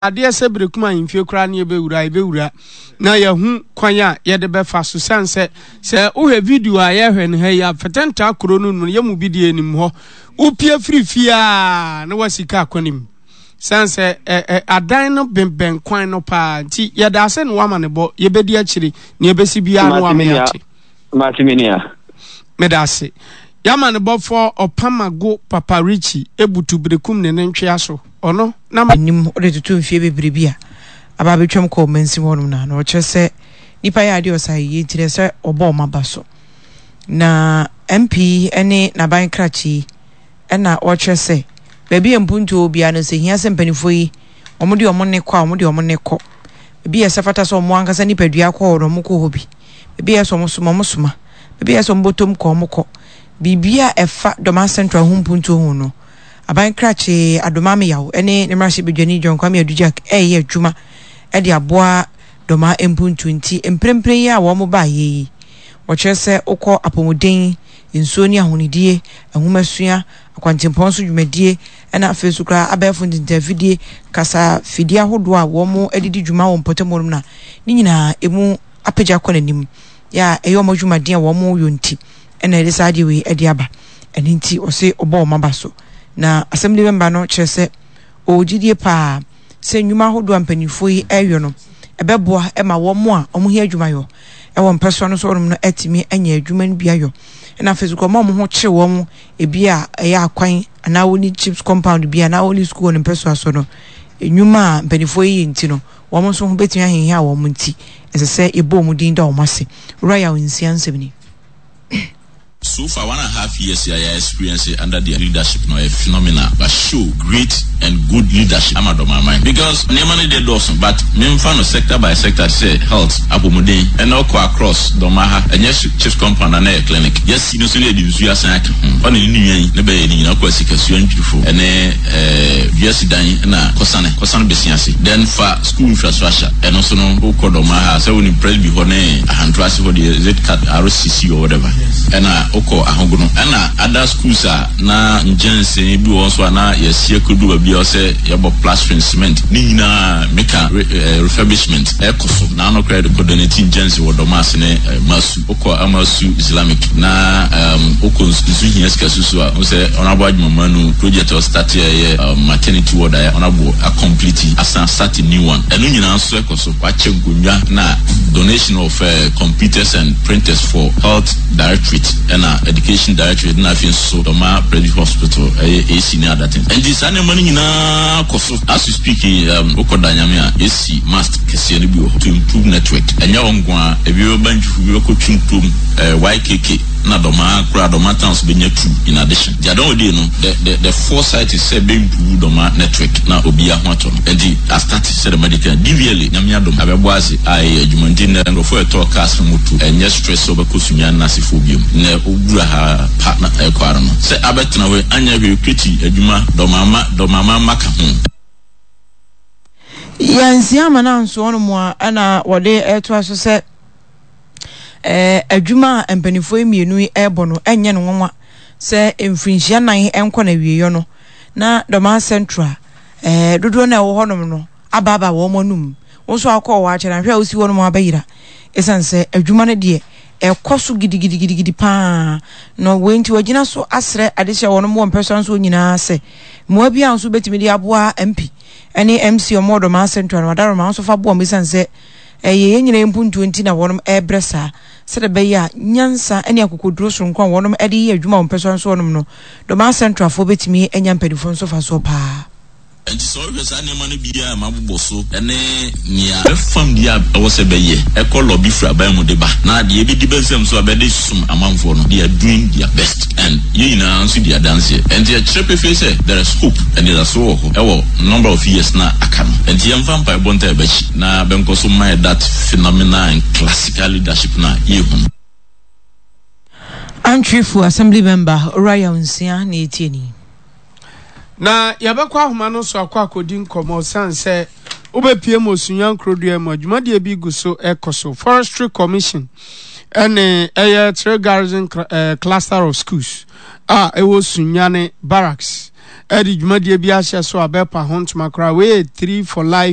Adeɛ sɛ berekum ahemfie koraa ne yɛbɛwura a, yɛbɛwura na yɛahu kwan a yɛde bɛfa so. Sane sɛ, sɛ wohwɛ video a yɛhwɛ no ha yi a, Fɛtɛntaa kuro no mu no, yɛn mu bi deɛ yɛnim hɔ. Wopie firi fie a na woasi kaa kwan mu. Sane sɛ ɛ, ɛ, adan no bɛnbɛn kwan no paa nti, yɛda ase ne woama ne bɔ. Yɛbɛdi akyire. Nea ɛbɛsi biara no Mate wama me nua. yɛate. Mate me nua. Meda ase. Yɛama ne bɔfoɔ Ɔpamago Papa Richie ebutu berekum ne ne ntwea so. Ɔno na. Anim wode toto mfeɛ bebree bi a aba abɛtwam kɔ ɔmansin hɔnom no a, na ɔkyerɛ sɛ nnipa yɛ adeɛ ɔsa yie nti na ɛsɛ ɔbɔ wɔn aba so. Na MP yi ne n'aban krakye yi na ɔkyerɛ sɛ baabi a mpuntuo wɔ biara no sɛ hia sɛ mpanimfoɔ yi wɔde wɔn nne kɔ a wɔde wɔn nne kɔ. Baabi a ɛsɛ fata sɛ wɔn ankasa nipadua kɔ hɔ no wɔkɔ hɔ bi. Baabi a ɛsɛ wɔn soma wɔn soma. Baabi a ɛsɛ wɔn bɔtɔm kɔ wɔn kɔ. Biribi a ɛfa Dɔma Central ho mpuntuo ho no, Aban krakye Adom Ameyaw ne ne mmarahyɛbadwani John Kwame Adu-Jack reyɛ adwuma de aboa Dɔma mpuntuo nti mprempren yi a wɔn baeɛ yi, wɔkyerɛ sɛ wokɔ apɔmuden, nsuo ne ahonidie, nwomasua, akwantempɔn so dwumadie ɛna afei nso koraa abɛɛfo ntentafidie, kasa fidie ahodoɔ a wɔn de di dwuma wɔ mpɔtam hɔ nom no a, ne nyinaa ɛmu apagya kɔ n'anim yɛ a ɛyɛ wɔn adwumaden a wɔn yɔ nti ɛna ɛde saa adeɛ wei ɛde aba. Ɛno nti ɔse ɔbɔ wɔn aba so. Na assembly member no kyerɛ sɛ ɔwɔ gyidie paa sɛ nnwuma ahodoɔ a mpanimfoɔ yi reyɔ no ɛbɛboa ma wɔn a wɔhia adwumayɔ ɛwɔ mpɛsoa no so hɔnom no atumi anya adwuma no bi ayɔ. Ɛna afei nso wɔn a wɔn ho kyere wɔn ebi a ɛyɛ akwan anaa wɔnni chips compound bi anaa wɔnni sukuu wɔ ne mpɛsoa so no, nnwuma a mpanimfoɔ yi yɛ nti no wɔn nso ho bɛtumi ahiahia wɔn nti ɛsɛ sɛ yɛbɔ wɔn din da wɔn ase. Owura Yaw Nsia nsɛm ni. So far one and half years a yɛ experience under their leadership no ɛyɛ phenomenal but show great and good leadership ama dɔm aman because nneɛma no deɛ dɔɔso but memfa no sector by sector te sɛ health apɔmuden ɛna ɔkɔ across dɔm aha ɛnyɛ chips compound ana ɛyɛ clinic yɛsi no so na yɛde nsuo asan aka ho ɔne ne nua yi ne bɛyɛ ne nyinaa kɔ asikasua ntwirifo ɛne ɛɛ wiase dan na kɔsane kɔsane bɛsi ase then fa school infrastructure ɛno so no wokɔ dɔm aha sɛ wonim presby hɔ ne ahanto ase hɔ deɛ is it cat rcc or whatever ɛna wokɔ ahogono ɛna other schools a na nkyɛnsee bi wɔ hɔ nso a na yɛasi akɔdu baabi a ɔsɛ yɛbɔ plastering cement ne nyinaa meka re, eh, refurbishment ɛkɔ so na ano koraa yɛde kɔ donate nkyɛnse wɔ dɔm ase ne eh, masu wokɔ amasu islamic na um, wokɔ nsu hia sika susu a wo sɛ honorable adwumamanu project a ɔstarte a ɛyɛ um, maternity ward a honorable acomplete asan start new one ɛno nyinaa nso ɛkɔ so wakyɛ nkonnwa na donation of uh, computers and printers for health directorate ɛna education directorate na afei nso Dɔma Presby Hospital ɛyɛ AC ne other things nti saa nneɛma no nyinaa kɔ so as you speak um, wokɔ da nyame a yɛsi mast kɛseɛ no bi wɔ hɔ to improve network ɛnyɛ hɔ nko a ebi bɛba ntwifo bi bɛkɔ twim kurom eh, YKK na Dɔma koraa Dɔma towns bɛnya two in addition nti adɔn odie no the the the foresight is sɛ bɛ improve Dɔma network na obiara ho atɔ no nti astart sɛ dɛm adi kan DVLA nyame adom abɛbɔ ase a ɛyɛ adwuma nti nnɛ nkurɔfoɔ ɛtɔɔ cars ne moto ɛnyɛ stress sɛ wobɛkɔ Sunyani no asefoɔ biom nnɛ wowura ha pa na ɛkɔ ara no sɛ abɛtena hɔ yi anyɛ hwee kwati adwuma dɔmama dɔmama mma ka ho. Yɛansia ama no anso hɔnom a ɛna wɔde ɛtoa so sɛ ɛɛ adwuma a mpanimfoɔ yi mmienu yi ɛrebɔ no ɛnyɛ no nwanwa sɛ mfirinhyia nan nkɔ na awieeɛ no na Dɔmaa Central ɛɛ dodoɔ no a ɛwɔ hɔnom no abaabaa wɔn anum. Wo nso akɔ hɔ akyɛ na hwɛ a wosi hɔnom abɛyera ɛsiane sɛ adwuma no deɛ ɛkɔ so gidigidigidi paa na wei nti wɔagyina so asrɛ adehyɛ wɔnom wɔ mpɛsoa nso nyinaa sɛ mmoa bi a nso bɛtumi de aboa MP ne MC wɔn wɔ Dɔmaa Central no Adaroma nso fa boa wɔn ɛsiane sɛ ɛyɛ yɛn nyinaa mpuntuo nti na wɔnom ɛrebrɛ saa sɛdeɛ ɛbɛyɛ a nyansa ne akokoduro soronko a wɔnom de yɛ adwuma wɔ mpɛsoa nso wɔnom no Dɔmaa Centralfoɔ bɛtumi anya mpanimfoɔ nso fa soɔ paa. Enti sɛ wohwɛ saa nneɛma no biara a mabobɔ so ne nea bɛfam deɛ a ɛwɔ sɛ bɛyɛ, ɛkɔ lɔbi firi aban mu de ba, na deɛ ɛbɛdi bɛ nsam nso a bɛde som amanfoɔ no, they are doing their best and yɛn nyinaa nso di adanseɛ. Enti ɛkyerɛ pefee sɛ there is hope, anidasoɔ wɔ hɔ wɔ number of years no a aka no. Enti yɛmfa mpaebɔ ntaa bɛakyi na bɛnkɔ so mma yɛ that phenomenal and classical leadership no a yɛrehu no. Antwifo Assembly Member, Owura Yaw Nsia na yɛtie no yi. Na yɛbɛkɔ ahoma no so akɔ akɔdi nkɔmmɔ sane sɛ wobɛpie mu Osunya Nkurodua mu a dwumadie bi gu so ɛkɔ so. Forestry Commission ɛne ɛyɛ Three Garrison eh, Cluster of Schools a ɛwɔ Sunyane Barracks ɛde dwumadie bi ahyɛ so a bɛpa ho ntoma koraa. Wei yɛ Tree for Life.